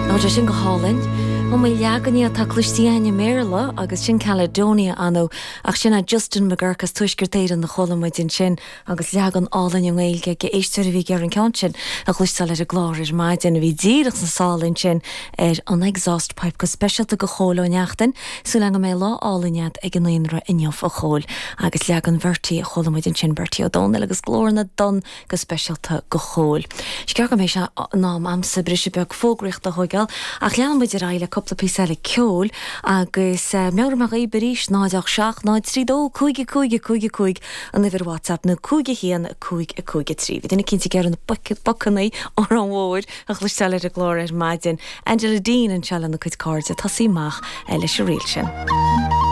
Tá sé sin go hálainn. Iomaí leagan dhe atá cloiste againn i mBéarla agus sin Caledonia ann ach sin é Justin McGuirk as Tuaisceart Éireann a chuala muid ansin agus leagan álainn i nGaeilge aige. Éisteoir a bhí ag iarraidh an ceann sin a chloisteáil ar an gclár ar maidin a bhí díreach sna sála ansin ar an exhaust pipe go speisialta do Chóil Ó Neachtain. Súil agam go mbeidh lá álainn agat ag an naíonra inniu a Chóil. Agus leagan Bhertie a chuala muid ansin, Bertie Ó Domhnaill agus Glór na dTonn go speisialta do Chóil. Is gearr go mbeidh sé in am a'msa briseadh beag fógraíochta a thóigeáil, ach leanfaidh muid ar aghaidh le cúpla píosa eile ceoil agus meabhróidh mé dhaoib arís, 0 8 7 0 3 2 5 5 5 5 an uimhir WhatsApp nó 5 1 5 5 3. Bhí duine eicínt ag iarraidh na Bacannaí, Órán Mór, a chloisteáil ar an gclár ar maidin. Angela Deane anseo lena cuid cairde, tosaí amach leis an ríl sin.